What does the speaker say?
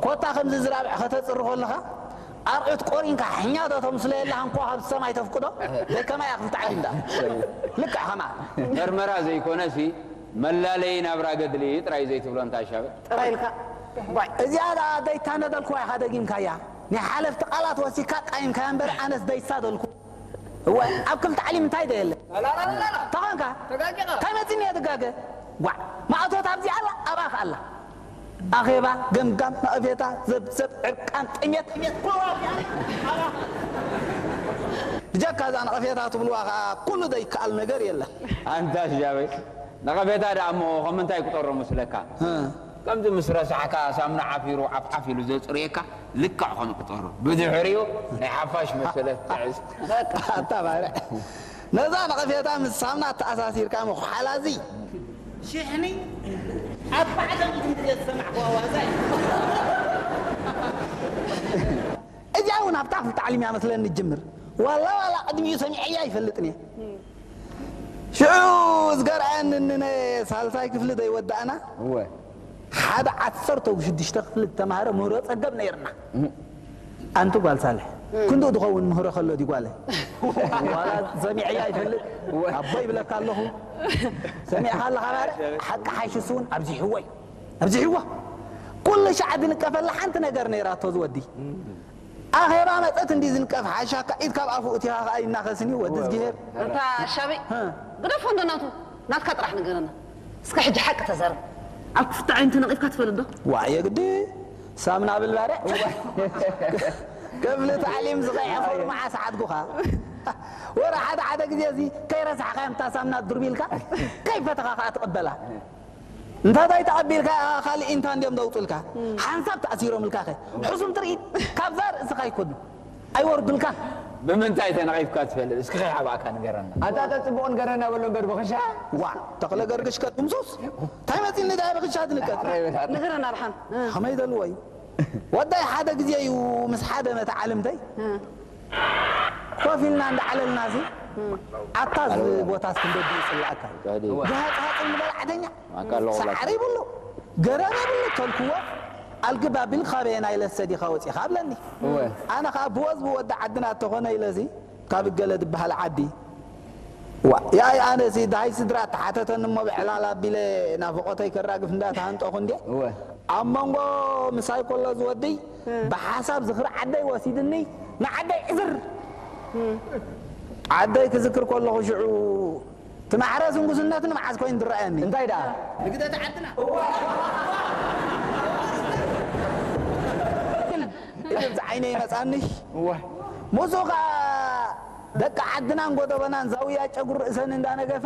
ኮታ ከምዚ ዝራብዕ ከተጽሪ ከለኻ ኣርዑት ቆሪንካ ሕኛቶ ተምስሎ የለኻ እንኳ ካብ ሰማይ ተፍቅዶ ዘይከማይ ኣኽል ተዓሊም ደኣ ልክዕ ከማ መርመራ ዘይኮነሲ መላለዪ ናብራ ገድሊ ጥራይ ዘይትብሎ እንታይ ሻበ? ጥራይ ኢልካ። እዚኣ ደኣ ደይታነደልኩዋ ኢኻ ደጊምካያ። ናይ ሓለፍቲ ቃላት ወሲካ ቃይምካያ እምበር ኣነስ ደይሳደልኩ። እወ ኣብ ክልተ ዓሊም እንታይ ደየለ? ተኾንካ? እንታይ መፂኒ እየ ድጋገ? ጓዕ ማእቶት ኣብዚ ኣላ ኣብኣ ከኣላ ኣኼባ ገምጋም ነቐፌታ ዘብዘብ ዕርቃን ጥሜት ብጀካ እዛ ነቐፌታ ትብልዋ ከዓ ኩሉ ዘይከኣል ነገር የለን። ኣንታ ሻበይ ነቐፌታ ደኣ እሞ ከም ምንታይ ክጠሮ መስለካ? ከምዚ ምስ ረሳሕካ ሳምና ዓፊሩ ዓፍዓፍ ኢሉ ዘፅርየካ ልክዕ ከም ክጠሩ ብድሕሪኡ ናይ ሓፋሽ መሰለ ትሕዝ ኣታ ባርዕ ነዛ ነቐፌታ ምስ ሳምና ተኣሳሲርካ ምኹሓላዚ ሽሕኒ ኣርባዕተ ሚእቲ ግዜ ዝሰማዕኩዋ ዋዛ እዩ። እዚኣ እውን ኣብታ ክፍልተ ዓሊም እያ መስለኒ ትጅምር ዋላ ዋላ ቅድሚኡ ሰሚዐያ ኣይፈልጥን እየ ሽዑ ዝገርኣኒ ንነ ሳልሳይ ክፍሊ ዘይወዳእና እወ ሓደ ዓሰርተ ሽዱሽተ ክፍሊ ዝተማህረ ምህሮ ጸገብ ነይርና ኣንቲ ጓል ሳልሕ ክንዱ ዝኸውን ምህሮ ከሎ ዲ ጓለ ዋላ ሰሚዐያ ይፈልጥ ኣቦ ይብለካ ኣለኹ ሰሚዕካ ኣለኻ ባርዕ ሓቂ ሓይሽስ እውን ኣብዚሕዎ እዩ ኣብዚሕዎ ኩሉ ሻዕ ዝንቀፈላ ሓንቲ ነገር ነይራቶ ዝወዲ ኣኼባ መጸት እንዲ ዝንቀፍ ሓሻካ ኢድ ካብ ኣፉ እቲኻ ከኣ ይናኸስኒ ወዲ ዝግሄር። ኣንታ ሻበይ ግደፎ እንዶ ናቱ ናትካ ጥራሕ ንገረና። እስከ ሕጂ ሓቂ ተዛረብ። ኣብ ክፍቲ ዓይኒ ተነቒፍካ ትፈልጥ ዶ? ዋዕ የግዲ ሳምና ብል ባርዕ ክፍሊ ታዕሊም ዝቐየኹ መዓስ ዓድጉኻ ወረ ሓደ ሓደ ግዜ እዚ ከይረሳሕካዮም እታ ሳምና ድርቢልካ ከይፈተኻ ከኣ ትቕበላ። እንተዘይ ተቐቢልካ ካልእ ኢንታ እንድዮም ዘውፅልካ ሓንሳብ ተኣሲሮምልካ ኸ ሕሱም ትርኢት ካብዛ ርእስኻ ይኮኑ ኣይወርዱልካን ብምንታይ ተነቒፍካ ትፈልጥ እስኪ ከይሓባእካ ንገረና ኣንታ ተፅብቑ ንገረና በሎ እምበር ብኽሻ ዋ ተኽለ ገርግሽ ከጥምሱስ እንታይ መፂኒ ዳ ብኽሻ ትንቀት ንገረና ኣርሓን ከመይ ዘልዎ እዩ ወዳይ ሓደ ግዜ እዩ ምስ ሓደ መተዓልምተይ ኮፍ ኢልና እንዳዓለልና እዚ ኣታ እዚ ቦታ እስክንደዲ ይፅላእካ ገሃፅሃፅ ንበላዕተኛ ሳዕሪ ይብሉ ገረብ የብሉ ተልክዎ ኣልግብ ኣቢል ካበየና ኢለሰ ዲኻ ወፂኻ ኣብለኒ ኣነ ከዓ ብወዝ ብወዲ ዓድና እተኾነ ኢለዚ ካብ ገለ ዝበሃል ዓዲ ዋ ያይ ኣነሲ ዳሃይ ስድራ ተሓተተኒ እሞ ብዕላል ኣቢለ ናፍቆተይ ከራግፍ እንዳተሃንጠኹ እንዴ ኣብ መንጎ ምሳይ ከሎ ዝወድይ ብሓሳብ ዝኽሪ ዓደይ ወሲድኒ ንዓደይ ዕዝር ዓደይ ክዝክር ከለኹ ሽዑ ትማሕረስ ንጉስነት ንመዓዝ ኮይኑ ዝረኣየኒ እንታይ ደኣ ንግደት ዓድና ኢሉ ብዚ ዓይነ ይመፃኒ ሙሱ ከዓ ደቂ ዓድናን ጎደበናን ዛውያ ጨጉሪ ርእሰን እንዳነገፋ